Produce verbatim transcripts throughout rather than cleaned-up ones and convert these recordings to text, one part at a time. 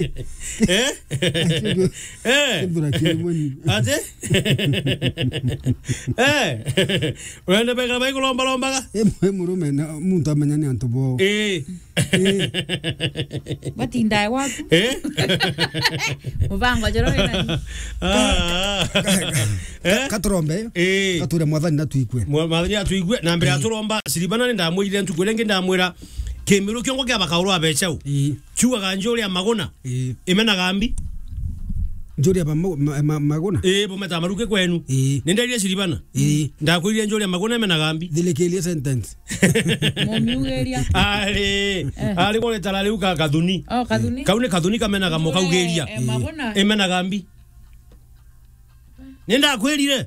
Eh? Eh? Kethura kiri mweni. Ati? Eh? Urenda bekara baikulomba lombaga? E mu-, e murume na muntu amenya ni antu bo. Eh. Eh. Batindae waku. Eh? Mubango joro ina. Ah. Eh? Katurombe. Eh. Kature mwathani na tuikwe. Mwa-, mwathani atuigue, na mbere ya turomba, Siribana ni ndamwirire ntuku iria ingi ndamwira, kimiru kiongo kia bakaurwa becau. Ii. Chuaga njuria maguna. Ii. Imenaga mbi. Njuria ba ma-, ma-, ma-, maguna? Ii, bumeta maruke kwenu. Ii. Ni nderie Siribana. Ii. Ndakwirire njuria maguna imenaga mbi. Thirikiria sentence. Mumiugeria. Ari, eh, ari bore tara riu ka kathuni. Oh, kathuni. Kau ni kathuni kamenaga mukaugeria. Eh, maguna. Imenaga mbi. Ni ndakwirire.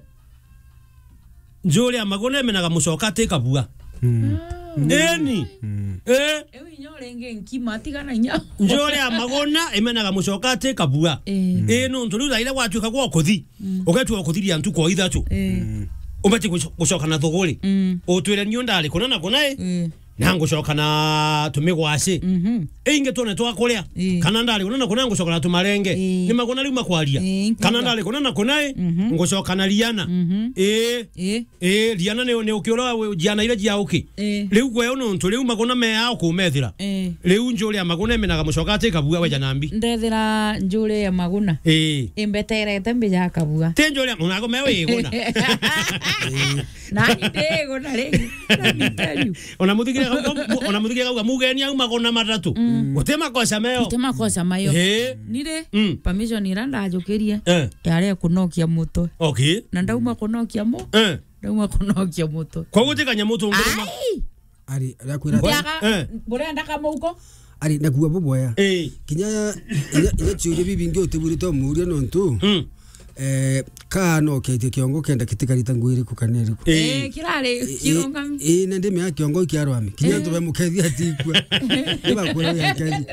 Njuria maguna imenaga mucoka ati kabua. Mm. Eni. Mm. Eh? Ewe inya urenge nkima, tigana inya. Njuria maguna imenaga mucoka ati kabua. Eh. Eh, nontu riu thaira gwatuika gwa kuthi. Mm. Ugetua kuthiria ntuku o ithatu. Eh. Mm. Ubati guco-, gucoka na thuguri. Mm. Utwire niu ndari kuna na kuna, eh. Eh. Na ngucoka na tumigwaci. Mhm. Ingi twone twa kuria. Ii. Kana ndari kuna na kuna ngucoka na tumarenge. Ii. Ni maguna riu makwaria. Ii, ingi. Kana ndari kuna na kuna, ii, mhm, ngucoka na riana. Mhm. Ii. Ii. Ii, riana ni, ni uki uria we, jiana iria jia uki. Ii. Riu gwe nontu riu maguna me ao kumethira. Ii. Riu njuria maguna imenaga mucoka ati kabua weja na mbi. Ndethira njuria maguna. Ii. Imbeterete mbija kabua. Ti njuria, unago me wiguna. Nani ndiguna ringi? Let me tell you. Ona muthikiria gauga, ona muthikiria gauga mugeni au magona matatu. Mm. Guti makosa meo. Guti makosa mayo. He. Nire, mm, permission ira ndajukirie, eh, yari kunokia mutwe. Okay. Na ndauma kunokia mu-, eh, ndauma kunokia mutwe. Kwa guti kanyamu tungiruma. Ai! Ari, arakwira ati, ntiaga, eh, burenda kamauko? Ari, nakuua buboya. Eh. Kinya, inya, inya ciuria bibingi utibwirite umuuria nontu, mm, eh, kaanoketie kiongo kenda kitikarita nguo iriku kana iriku. Eh. Eh, kirari, eh, kirungami. Eh, na ndimea kiongo ikiarwami. Kinya, eh, antu bamukethia atikua. Nibakwira ya kethi.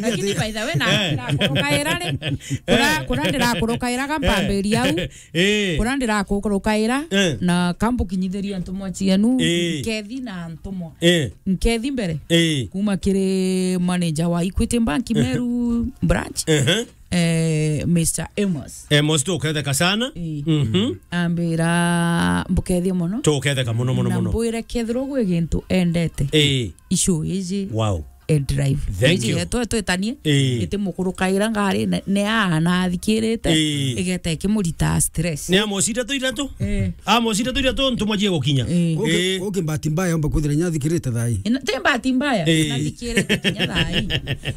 Lakini by the way, na, eh, ndirakurukaira ri. Kura, eh, kura ndirakurukairaga mpambiria au. Eh. Kura ndirakurukaira, eh, na kambukinyithiria ntumwa cienu, eh, nkethi na ntumwa. Eh. Nkethi mbere. Eh. Kuma kiri manager wa Equity Bank, eh, Meru branch. Eh. Eh, Mister Amos. Amos, tuketheka sana. Eh. Mhm. Ambira, mbukethie mono. Tuketheka mono, mono, na mono. Mbwire kethirwa gwi gintu endete. Eh. Icio iji. Wow. E drive. Thank you. Iji yetu twetanie, eh, iti mukurukaira ngari ne, ne ana athikirite, eh, igeta ikimurita stress. Ni Amos ithatu ithatu? Eh. Amos ithatu ithatu ntumwa jie gukinya. Eh. Uki-, eh, uki bahati mbaya omba kwithira nya athikirite thai. Ina, ti bahati mbaya, eh, nathikirite kinya thai.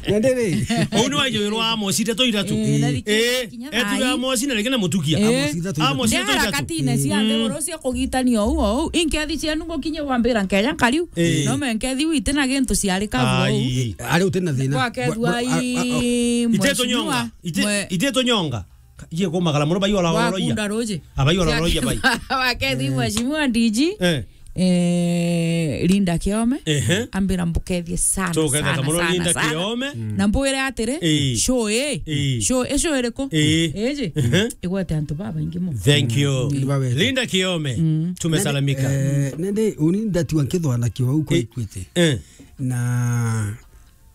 Na ndiri. Ou ni waijirwa Amos ithatu ithatu. Eh, eh, nathikirite kinya thai. Etu ya Amos na reke na mutukia. Eh. Amos ithatu ithatu. Amos ithatu ithatu. Ndi harakatine cia nthiguru cia kugitania ou ou. Inkethi cienu ngukinya wambira nkeja nkariu. Eh. No me nkethi wite na gintu ciari kabua ou. Ai. Ari uti na thina. Kwa kethua. Mwe-, mwe-, a-, a-, a-, ite tunyonga. Ite, mwe-, ite tunyonga. Ije kumagara muno, baiyora wa roiya. Kunda ruji. Abaiyora roiya bai. Wa kethi, eh, mheshimiwa D G. Eh. Eh, Linda Kiome. Ehe. Ambira mbukethie sana, tuketheka sana, muno sana, Linda sana. Kiome. Mm. Na mbwire atiri, eh, show ii. Eh. Show, e show iriku? Eh. Iji? Ehe. Igwete antu babaingi muno. Thank you. Mm. Linda Kiome. Mm. Tumesalamika. Nende, eh, nende uni ndatiwa nkithwana kiwa uko, eh, Equity. Eh. Na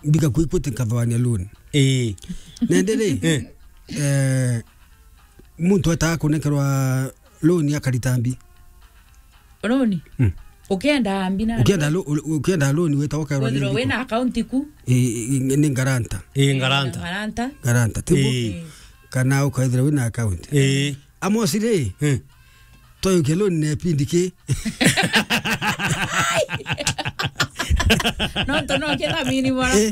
mbika ku Equity nkathwania loan. Ii. Nende ri, eh, eh, muntu etaga kunekerwa loan akarita mbi? Loan? Mm. Ukienda mbi na ukienda lo-, u-, ukienda loan weta ukairwa ni withirwa wina account ku? Ii, ii, ni guarantor. Ii, guarantor. Guarantor. Guarantor, tibu? Ii. Kana ukaithira wina account. Ii. Amos ri, eh, twayukia loan na ipindi ki? Nontu no kithamini bora. Eh.